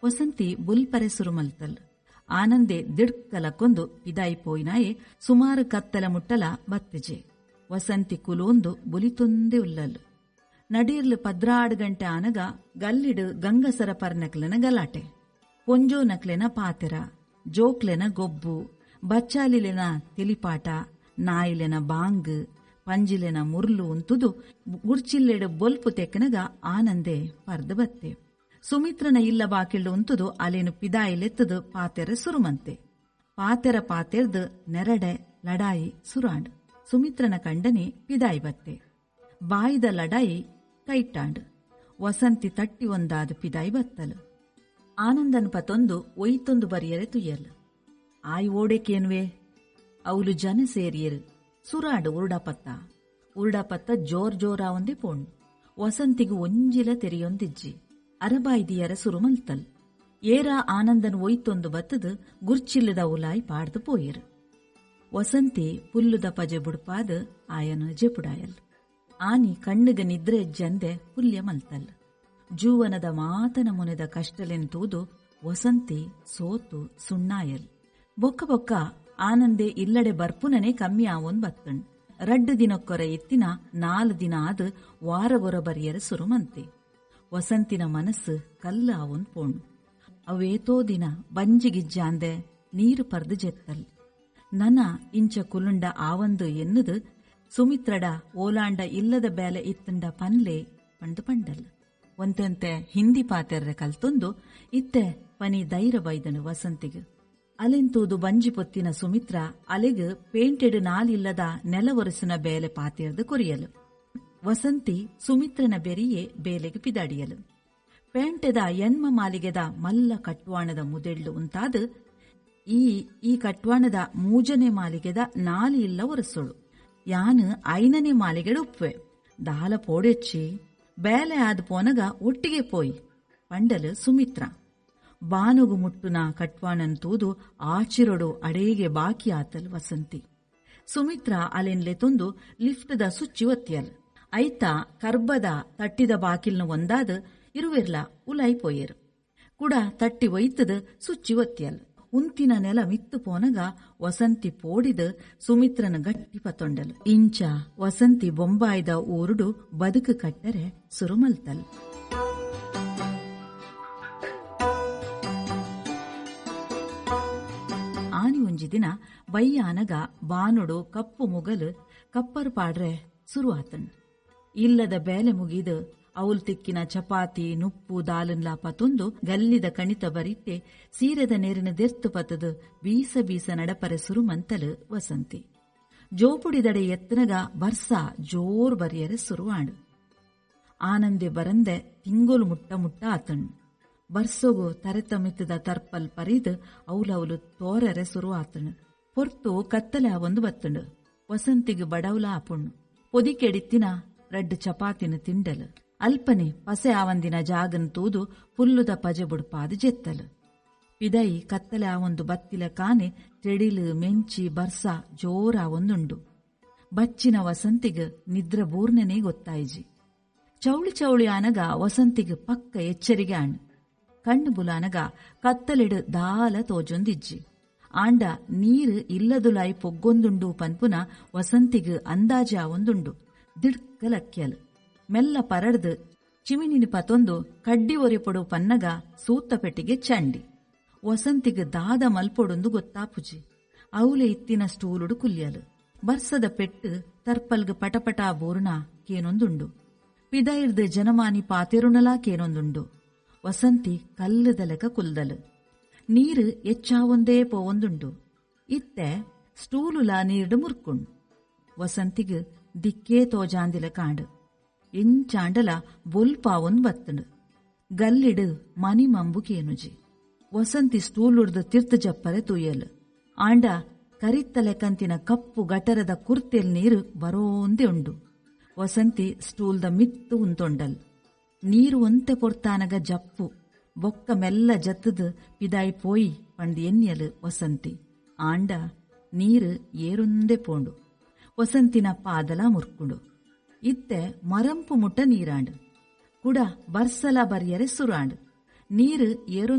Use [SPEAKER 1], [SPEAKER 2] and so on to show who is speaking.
[SPEAKER 1] ವಸಂತಿ ಬುಲ್ಪರೆ ಸುರುಮಲ್ತಲ್. ಆನಂದೆ ದಿಡ್ಕಲಕ್ಕೊಂದು ಪಿದಾಯಿ ಪೋಯಿನಾಯೆ ಸುಮಾರು ಕತ್ತಲ ಮುಟ್ಟಲ ಬತ್ತಿಜೆ. ವಸಂತಿ ಕುಲೋಂದು ಬುಲಿತೊಂದೇ ಉಲ್ಲಲ್. ನಡೀರ್ಲು 12 ಗಂಟೆ ಆನಗ ಗಲ್ಲಿಡು ಗಂಗಸರ ಪರ್ನಕ್ಲೆನ ಗಲಾಟೆ, ಪೊಂಜೋ ನಕ್ಲೆನ ಪಾತೆರ, ಜೋಕ್ಲೆನ ಗೊಬ್ಬು, ಬಚ್ಚಾಲಿಲೆನ ತಿಳಿಪಾಟ, ನಾಯಿಲೆನ ಬಾಂಗ್, ಪಂಜಿಲೆನ ಮುರ್ಲು ಉಂತುದು ಗುರ್ಚಿಲ್ಲೆಡು ಬೊಲ್ಪು ತೆಕ್ಕನಗ ಆನಂದೆ ಪರ್ದು ಬತ್ತೆ. ಸುಮಿತ್ರನ ಇಲ್ಲ ಬಾಕಿಲ್ಡು ಉಂತುದು ಅಲೇನು ಪಿದಾಯಿಲೆತ್ತದು ಪಾತೆರ ಸುರುಮಂತೆ. ಪಾತೆರ ಪಾತೆರ್ದು ನೆರಡೆ ಲಡಾಯಿ ಸುರಾಂಡ್. ಸುಮಿತ್ರನ ಕಂಡನೆ ಪಿದಾಯಿ ಬತ್ತೆ. ಬಾಯಿದ ಲಡಾಯಿ ಕೈಟಾಂಡ್. ವಸಂತಿ ತಟ್ಟಿ ಒಂದಾದ ಪಿದಾಯಿ ಬತ್ತಲು. ಆನಂದನ್ ಪತೊಂದು ಒಯ್ತೊಂದು ಬರಿಯರೆ ತುಯ್ಯಲ್. ಆಯ್ ಓಡೆಕೇನ್ವೆ ಅವಲು ಜನ ಸೇರಿಯರು. ಸುರಾಡು ಉರುಡಪತ್ತ ಉರುಡಪತ್ತ ಜೋರ್ ಜೋರಾ ಒಂದೇ ಪೋಣ್. ವಸಂತಿಗು ಒಂಜಿಲ ತೆರಿಯೊಂದಿಜ್ಜಿ. ಅರಬಾಯ್ದಿಯರ ಸುರುಮಲ್ತಲ್. ಏರ ಆನಂದನ್ ಒಯ್ತೊಂದು ಬತ್ತದು ಗುರ್ಚಿಲ್ಲದ ಉಲಾಯ್ ಪಾಡ್ದು ಪೋಯರು. ವಸಂತಿ ಪುಲ್ಲುದ ಪಜೆ ಬುಡ್ಪಾದ ಆಯನ ಜೆಪುಡಾಯಲ್. ಆನಿ ಕಣ್ಣುಗ ನಿದ್ರೆ ಜಂದೆ ಪುಲ್ಯ ಮಲ್ತಲ್. ಜೂವನದ ಮಾತನ ಮುನೆದ ಕಷ್ಟಲೆನ್ ತೂದು ವಸಂತಿ ಸೋತು ಸುಣ್ಣಾಯಲ್. ಬೊಕ್ಕ ಬೊಕ್ಕ ಆನಂದೆ ಇಲ್ಲಡೆ ಬರ್ಪುನನೆ ಕಮ್ಮಿ ಆವೊನ್ ಬತ್ತಣ್. 2 ದಿನಕ್ಕೊರ ಇತ್ತಿನ 4 ದಿನ ಆದ್ ವಾರಗೊರ ಬರಿಯರ ಸುರುಮಂತೆ. ವಸಂತಿನ ಮನಸ್ಸು ಕಲ್ಲ ಆವೊನ್ ಪೋಣ್. ಅವೇತೋ ದಿನ ಬಂಜಿಗಿಜ್ಜಾಂದೆ ನೀರು ಪರ್ದು ಜೆತ್ತಲ್. ನನ ಇಂಚ ಕುಲುಂಡ ಆವಂದು ಎನ್ನುದು ಸುಮಿತ್ರಡ ಓಲಾಂಡ ಇಲ್ಲದ ಬೇಲೆ ಇತ್ತಂಡ ಪನ್ಲೆ ಪಂಡು ಪಂಡಲ್. ಒಂತೆಂತೆ ಹಿಂದಿ ಪಾತೆರ್ರೆ ಕಲ್ತೊಂದು ಇತ್ತೆ ಪನಿ ಧೈರ್ಯ ಬೈದನು ವಸಂತಿಗ್. ಅಲೆಂತೂದು ಬಂಜಿ ಪೊತ್ತಿನ ಸುಮಿತ್ರ ಅಲೆಗ್ ಪೇಂಟೆಡ್ ನಾಲಿಲ್ಲದ ನೆಲ ಒರೆಸುನ ಬೇಲೆ ಪಾತೆರ್ದು ಕೊರಿಯಲು. ವಸಂತಿ ಸುಮಿತ್ರನ ಬೆರಿಯೇ ಬೇಲೆಗೆ ಪಿದಾಡಿಯಲು. ಪೇಂಟೆದ ಎನ್ಮ ಮಾಲಿಗೆದ ಮಲ್ಲ ಕಟ್ವಾಣದ ಮುದೆಳ್ಳು ಉಂತಾದ ಈ ಕಟ್ವಾಣದ 3ನೇ ಮಾಲಿಗೆದ 4 ಇಲ್ಲ ಒರೆಸೋಳು. ಯಾನು 5ನೇ ಮಾಲಿಗೆಡು ಉಪ್ಪುವೆ. ದಾಲ ಪೋಡೆಚ್ಚಿ ಬೇಲೆ ಆದ ಪೋನಗ ಒಟ್ಟಿಗೆ ಪೋಯಿ ಪಂಡಲು ಸುಮಿತ್ರ. ಬಾನುಗು ಮುಟ್ಟುನ ಕಟ್ವಾಣನ್ ತೂದು ಆಚಿರೊಡು ಅಡೇಗೆ ಬಾಕಿ ಆತಲ್ ವಸಂತಿ. ಸುಮಿತ್ರ ಅಲೆನ್ಲೆ ತೊಂದು ಲಿಫ್ಟ್ದ ಸುಚ್ಚಿ ಒತ್ತಿಯಲ್. ಐತ ಕರ್ಬದ ತಟ್ಟಿದ ಬಾಕಿಲ್ನ ಒಂದಾದ ಇರುವೆರ್ಲ ಉಲಾಯಿ ಪೋಯೆರು. ಕುಡ ತಟ್ಟಿ ಒಯ್ತದ ಸುಚ್ಚಿ ಒತ್ತಿಯಲ್. ಉಂತಿನ ನೆಲ ಮಿತ್ತು ಪೋನಗ ವಸಂತಿ ಪೋಡಿದ ಸುಮಿತ್ರನ ಗಟ್ಟಿ ಪತೊಂಡಲು. ಇಂಚ ವಸಂತಿ ಬೊಂಬಾಯ್ದ ಊರುಡು ಬದುಕು ಕಟ್ಟರೆ ಸುರುಮಲ್ತಲ್. ಆನಿ ಒಂಜಿ ದಿನ ಬಯ್ಯಾನಗ ಬಾನುಡು ಕಪ್ಪು ಮುಗಲು ಕಪ್ಪರ್ ಪಾಡ್ರೆ ಸುರು ಆತಣ್. ಇಲ್ಲದ ಬೇಲೆ ಮುಗಿದು ಅವಲ್ ತಿಕ್ಕಿನ ಚಪಾತಿ ನುಪ್ಪು ದಾಲನ್ಲಾ ಪತೊಂದು ಗಲ್ಲಿದ ಕಣಿತ ಬರಿತ್ತೆ ಸೀರೆದ ನೇರಿನ ದೆರ್ತು ಪತದು ಬೀಸ ಬೀಸ ನಡಪರೆ ಸುರುಮಂತಲು ವಸಂತಿ. ಜೋಪುಡಿದಡೆ ಎತ್ತನಗ ಬರ್ಸ ಜೋರ್ ಬರಿಯರೆ ಸುರುವಾಡು. ಆನಂದೆ ಬರಂದೆ ತಿಂಗೋಲು ಮುಟ್ಟ ಮುಟ್ಟ ಆತಣ್. ಬರ್ಸೋಗು ತರೆತಮಿತ್ತದ ತರ್ಪಲ್ ಪರಿದು ಅವಲವಲು ತೋರರೆ ಸುರು ಆತಣ್. ಪೊರ್ತು ಕತ್ತಲೆ ಒಂದು ಬತ್ತಂಡು. ವಸಂತಿಗೆ ಬಡವಲ ಆಪುಣ್ಣು. ಪೊದಿಕೆಡಿತ್ತಿನ 2 ಚಪಾತಿನ ತಿಂಡಲು. ಅಲ್ಪನೆ ಪಸೆ ಆವಂದಿನ ಜಾಗನ್ ತೂದು ಪುಲ್ಲುದ ಪಜೆ ಬುಡ್ಪಾದ ಜೆತ್ತಲು. ಪಿದೈ ಕತ್ತಲೆ ಆವೊಂದು ಬತ್ತಿಲ ಕಾನೆ ತೆಡಿಲು ಮೆಂಚಿ ಬರ್ಸ ಜೋರಾವೊಂದುಂಡು. ಬಚ್ಚಿನ ವಸಂತಿಗ್ ನಿದ್ರ ಬೂರ್ಣನೇ ಗೊತ್ತಾಯಿಜಿ. ಚೌಳಿ ಚೌಳಿ ಆನಗ ವಸಂತಿಗ್ ಪಕ್ಕ ಎಚ್ಚರಿಗೆ ಆಣ್. ಕಣ್ಣು ಬುಲಾನಗ ಕತ್ತಲೆಡು ದಾಲ ತೋಜೊಂದಿಜ್ಜಿ. ಆಂಡ ನೀರು ಇಲ್ಲದುಲಾಯಿ ಪೊಗ್ಗೊಂದುಂಡು ಪನ್ಪುನ ವಸಂತಿಗ್ ಅಂದಾಜೆ ಆವೊಂದುಂಡು. ದಿಡ್ಕಲಕ್ಯಲ್. ಮೆಲ್ಲ ಪರಡ್ದು ಚಿಮಿನಿನ ಪತೊಂದು ಕಡ್ಡಿ ಒರೆಪೊಡು ಪನ್ನಗ ಸೂತ್ತ ಪೆಟ್ಟಿಗೆ ಚಂಡಿ. ವಸಂತಿಗ್ ದಾದ ಮಲ್ಪೊಡೊಂದು ಗೊತ್ತಾಪುಜಿ. ಅವಲೆ ಇತ್ತಿನ ಸ್ಟೂಲುಡು ಕುಲ್ಯಲು. ಬರ್ಸದ ಪೆಟ್ಟು ತರ್ಪಲ್ಗ್ ಪಟಪಟ ಬೋರ್ಣ ಕೇನೊಂದುಂಡು. ಪಿದೈರ್ದು ಜನಮಾನಿ ಪಾತೆರುಣಲಾ ಕೇನೊಂದುಂಡು. ವಸಂತಿ ಕಲ್ಲುದಲೆಕ ಕುಲ್ದಲು. ನೀರು ಎಚ್ಚಾವೊಂದೇ ಪೋವೊಂದುಂಡು. ಇತ್ತೆ ಸ್ಟೂಲುಲಾ ನೀರ್ಡು ಮುರ್ಕುಂಡು. ವಸಂತಿಗ್ ದಿಕ್ಕೇ ತೋಜಾಂದಿಲ ಕಾಂಡು. ಎಂಚಾಂಡಲ ಬೊಲ್ಪಾವೊಂದು ಬತ್ತಂಡು. ಗಲ್ಲಿಡು ಮನಿ ಮಂಬು ಕೇನುಜಿ. ವಸಂತಿ ಸ್ಟೂಲುಡ್ದು ತಿರ್ತು ಜಪ್ಪರೆ ತೂಯಲು. ಆಂಡ ಕರಿತ್ತಲೆಕಂತಿನ ಕಪ್ಪು ಗಟರದ ಕುರ್ತೆಲ್ ನೀರು ಬರೋಂದೇ ಉಂಡು. ವಸಂತಿ ಸ್ಟೂಲ್ದ ಮಿತ್ತು ಉಂತೊಂಡಲ್. ನೀರು ಒಂತೆ ಪೊರ್ತಾನಗ ಜಪ್ಪು ಬೊಕ್ಕ ಮೆಲ್ಲ ಜತ್ತದು ಪಿದಾಯಿ ಪೋಯಿ ಪಂಡ್ ಎನ್ಯಲು ವಸಂತಿ. ಆಂಡ ನೀರು ಏರೊಂದೇ ಪೋಂಡು. ವಸಂತಿನ ಪಾದಲ ಮುರ್ಕುಂಡು. ಇತ್ತೆ ಮರಂಪು ಮುಟ್ಟ ನೀರಾಂಡು. ಕುಡ ಬರ್ಸಲ ಬರಿಯರೆ ಸುರಾಂಡು. ನೀರು ಏರೊಂದು